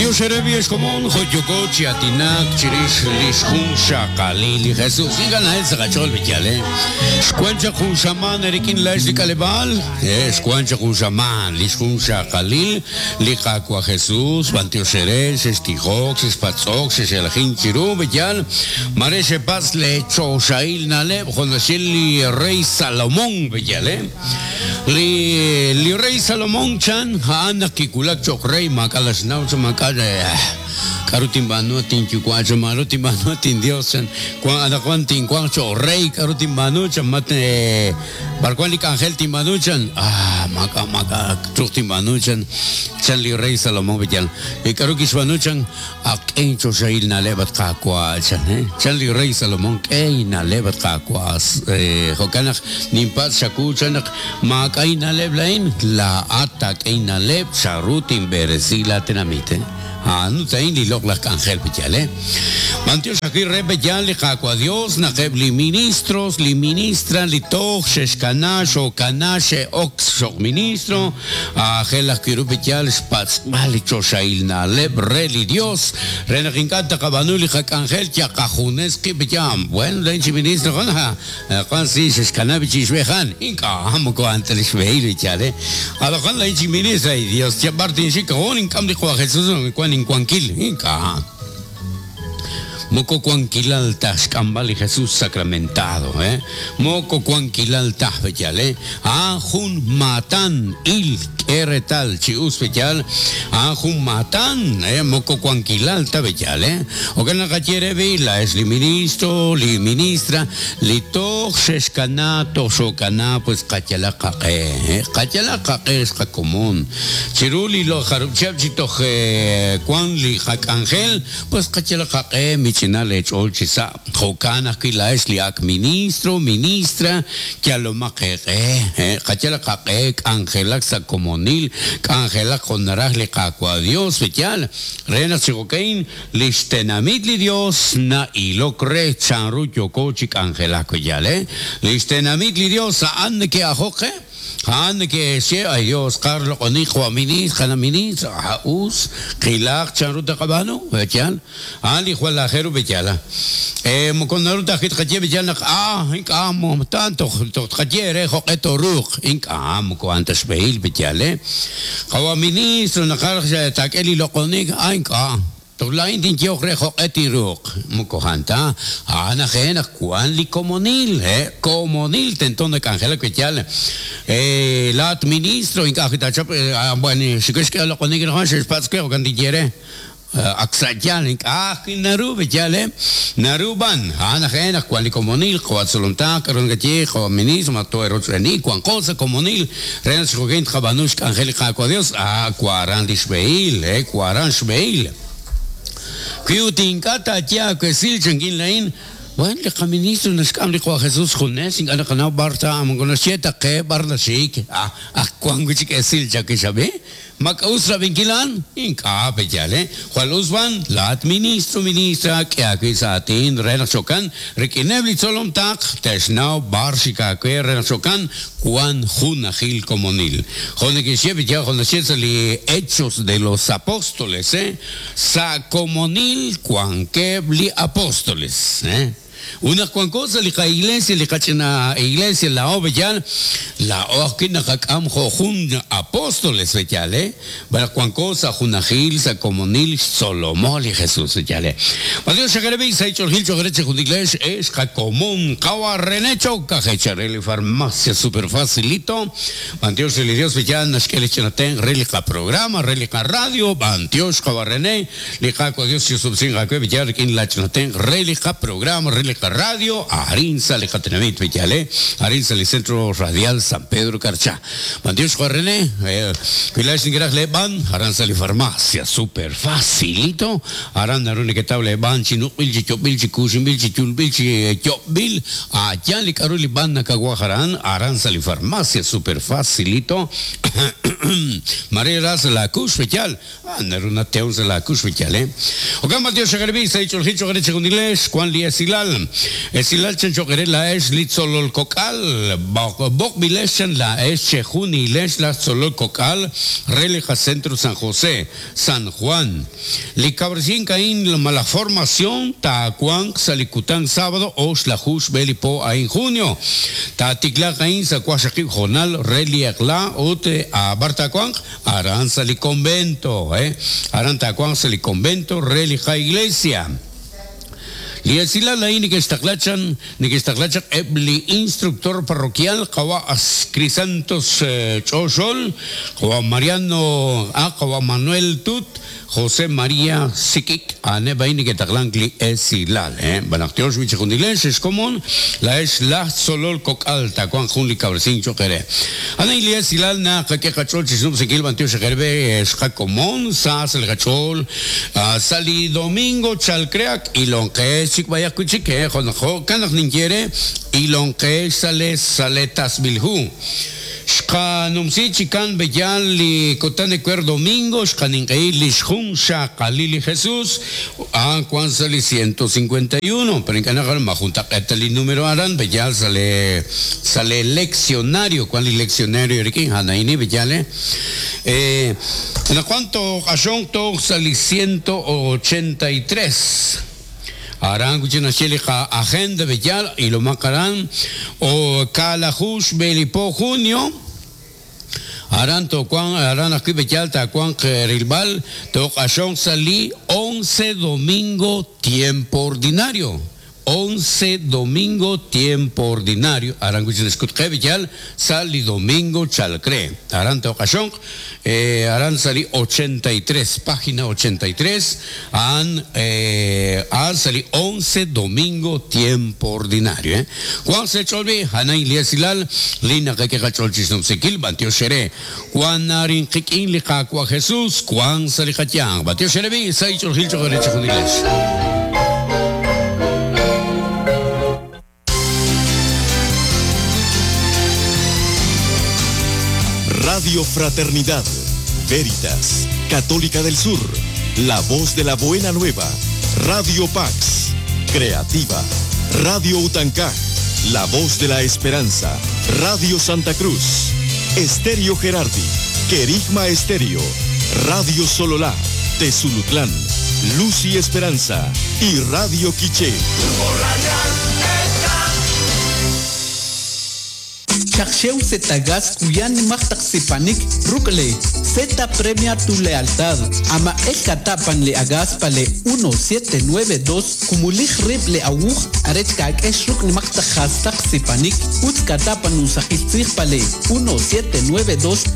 B'antiox eere ex komon jo' yooko chi aatinak chirix lix junxaqalil li Jesus. Ink'a' na'el sa' qach'ool b'iyal, eh? Xwan chaq jun xamaan eerik'in laa'ex li k'aleb'aal, eh, xwan chaq jun xamaan lix junxaqalil li Qaawa' Jesus. B'antiox eere, xextijok, xexpatz'ok, xexelajink chiru, b'iyal, mare xepatz' lee choxahil na'leb' jo' naxye li rey Salomon, b'iyal, eh? Li li rey Salomón chan, a'an naq kiwulak cho'q rey maak'a' naxnaw chan maak'a' k'aru tinb'aanu at inyuwa' chan maru tinb'aanu at inYos chan wan anaqwan tinwanq cho'q rey k'aru tinb'aanu chan mat b'ar wan li k'anjel tinb'aanu chan ah maak'a' maak'a' truuq tinb'aanu chan chan li rey Salomón b'iyal li k'aru kixb'aanu chan Ak k'e inchoxahil na'leb', at Qaawa', chan, chan li rey Salomón, k'e inna'leb', at Qaawa'. Jo'kan naq ninpatz' chawu, chan, naq maak'a' inna'leb' laa'in, laa'at taak'e inna'leb' chanru tinb'eresi laatenamit. A'an ut a'in li loq'laj k'anjel, pe'yaal, eh? B'antiox ajwi' re pe'yaal li Qaawa' Dios naq eb' li ministros, li ministra, li toj xe'xkana, xookana, xe'ok cho'q ministro, Aajel ajwi' ru pe'yaal xpatz'b'al li choxahil na'leb' re li Dios re naq ink'a' taqab'aanu li qak'anjel yal qajunes qib' pe'yaal. Bueno, laa'in chi ministro jun, ha, wan si xexkanab' chi ixb'ej a'an. Ink'a', moko a'an ta li xb'ehil pe'yaal, eh. Anaqwan laa'in chi ministro, ay Dios, yal b'ar tinxik, oh, nink'am li Qwa' Jesus, wan inwankil. Ink'a'. Moko wankilal ta xk'amb'al li Jesus sacramentado, eh? Moko wankilal ta, b'eyal, eh? A'an jun maatan, il, k'e reetal chi us, b'eyal, a'an jun maatan, eh? Moko wankilal ta, b'eyal, eh? Jo'kan naq qaye re b'i, laa'ex li ministro, li ministra, li toj xexkana, toj xookana, pues qayalaq qaq'e, eh? Qayalaq qaq'e ex qakomon. Chiru li jarub' chihab' chi toj wank li qak'anjel, pues qayalaq qaq'e mich'ina leech'ool chi sa'. Jo'kan ajwi' laa'ex li ak' ministro, ministra, yalomaq eeq'e. Qayalaq qaq'e k'anjelak sa' komonil, k'anjelak jo' naraj li Qaawa' Dios, pe'yaal? Re naq chi jo'ka'in li xtenamit li Dios na'ilok re chanru yooko chi k'anjelak, pe'yaal? Li xtenamit li Dios a'an neke'ajok qe. A'an neke'xye, Ay Dios, qar loq'oni qwa' ministr, qana' ministr, a us, qilaq chanru taqab'aanu, b'eyal. A'an li jwal aajel ru b'eyal. E moko naru ta ajwi' tqaye b'eyal naq a ink'a' ta toj toj tqaye eere jo'q'e tooruuq. Ink'a' moko a'an ta xb'ehil b'eyal, e. Qawa' ministro naqaj taak'e li loq'onik, a ink'a'. Toj laa'in tinyehoq re jo'q'e tinruuq. Moko a'an ta, a'an aj e naq wank li komonil, he, komonil tento nak'anjelak wi' yaal. He, laa'at ministro ink'a' ajwi' taachap, bueno, xik'e xk'e loq'onik anaqwan xe'xpatz' we, jo'kan tinye re. Ak sa' yaal ink'a' ajwi' naru wi' yaal, he. Naru b'an, a'an aj e naq wank li komonil, qawa' tzolomtaq, k'a'ru nakaye, qawa' ministro, ma too'erochb'eeni, wanqo sa' komonil Re naq chi jo'kan tqab'aanu xk'anjel li Qaawa' Dios, a' waran li xb'ehil, he, waran xb'ehil. Wi ut ink'a' taaye aawesil, chankin laa'in, Bueno, li qaministro naxk'am li Qawa' Jesus xjunes, ink'a' naqanaw b'ar ta, moko naxye ta qe b'ar naxik. Ah, ak wank wi' chik esil chawix ab'i. Ma k'a'us rab'inkil a'an? Ink'a', pe'yaal, eh? Jwal us b'an, laa'at ministro, ministra, k'e aawib' sa' aatin re naq jo'kan rik'ineb' li tzolom taql te'xnaw b'ar xik aawe re naq jo'kan wan junajil komonil. Jo' neke'xye pe'yaal jo' naxye sa' li Hechos de los Apóstoles, eh? Sa' komonil wankeb' li apóstoles, eh? Ut naq wanko sa' li qa-iglesia, li qach'ina iglesia laa'o b'eyal, laa'o ajwi' naqak'am jo' jun apóstoles b'eyal, eh? B'an naq wanko sa' junajil, sa' komonil, xtzolomo li Jesus b'eyal, eh? B'antiox xaqereb'i sa' ich'oolejil cho'q re chejunilex, ex qakomon Qawa' René Choc, aj eechal re li Farmacia Super Facilito. B'antiox re li Dios b'eyal naxk'e li ch'ina tenq' re li qaprograma, re li qaradio. B'antiox Qawa' René. Li Qaawa' Dios chisob'sinq aawe b'iyal rik'in laa ch'ina tenq' re li qaprograma, re li qaradio, arin sa' li qatenamit b'iyal, eh, arin sa' li Centro Radial San Pedro Carchá. B'antiox Juan René, wi laa'ex nekeraj lee b'an, aran sa' li farmacia, super facilito, aran naru neketaw lee b'an chi nuq'b'il, chi yob'b'il, chi kuuxinb'il, chi yulb'il, chi yob'b'il, a' yaal li k'a'ru li b'an nakawaj aran, aran sa' li farmacia, super facilito, mare ra sa' laa kuux b'iyal, Naru natew sa' laakux wi yal, eh. Jo'kan b'antiox xaqarib'ik sa' li ch'oolejil cho'q re chejunilex wan li esilal. Esilal chan cho'q eere laa'ex li tzolol kok'al, b'oqb'ilex chan laa'ex chejunilex laj tzolol kok'al re li qacentro San José, San Juan. Li kawresink a'in malaj formación taawanq sa' li kutan sábado oxlaju xb'e li po a'in junio. Taatiklaaq a'in sa' waqxaqib' hoonal re li eq'la ut b'ar taawanq? Aran sa' li convento, aran taawanq sa' li convento re li qa-iglesia. Li esilal a'in neke'xtaqla chan neke'xtaqla chaq eb' li instructor parroquial qawa' Crisantos Ch'oxol, qawa' Mariano a qawa' Manuel Tut, José María Sik'ik, a'aneb' a'in neke'taqlank li esilal. B'an naq tyox wi' chejunilex ex komon, laa'ex laj tzolol kok'al taawanq jun li kawresink cho'q eere. A'an a'in li esilal naqak'e qach'ool chi xnub'sinkil b'antiox ejer b'e xqakomon sa sa' li qach'ool sa' li domingo chalk re ak ilonqex chik b'ayaq wi' chik, jo' naq jo'kan naq ninye eere ilonqex sa' le sa' le tasb'il hu. Xqanumsi chikan b'eyal li kutan ewer domingo xqaninq'ehi li xjunxaqalil li Jesús, a'an wank sa' li 151, pero ink'a' naqanaw ma juntaq'eet ta li número aran b'eyal sa' le sa' le leccionario, wank li leccionario rik'in a'an a'in b'eyal eh. Anaqwan tooq'axonq toj sa' li 183. Aran wi' chik naxye li qa-agenda b'eyal, ilomaq aran, o kaalaju xb'e li po junio, aran toowanq, aran ajwi' b'eyal taawanq rilb'al, tooq'axonq sa' li once domingo tiempo ordinario, once domingo tiempo ordinario, aran wi' chik naxk'ut qe b'eyal sa' li domingo chalk re, aran tooq'axonq. Aran sa' li 83, página 83, a'an a'an sa' li once domingo tiempo ordinario. Wanq sa' eech'ool b'i', a'an a'in li esilal li naqak'e qach'ool chixnumsinkil, b'antiox eere. Wank arin qik'in li Qaawa' Jesus, wank sa' li qayanq. B'antiox eere b'i', sa' ich'oolil cho'q eere chejunilex. Radio Fraternidad, Veritas, Católica del Sur, La Voz de la Buena Nueva, Radio Pax, Creativa, Radio Utancá, La Voz de la Esperanza, Radio Santa Cruz, Estéreo Gerardi, Querigma Estéreo, Radio Sololá, Tezulutlán, Luz y Esperanza y Radio Quiché. Xaq xew Zetagas kuya nimaq taq sipanik ruk' le Zeta premia tu lealtad. Amaq'el kata' pan le agas pa le 1792 kumulij rib' le awuj arech kak'ex ruk' nimaq taq jastaq sipanik utz kata' pan usaqil tzij pa le 1792.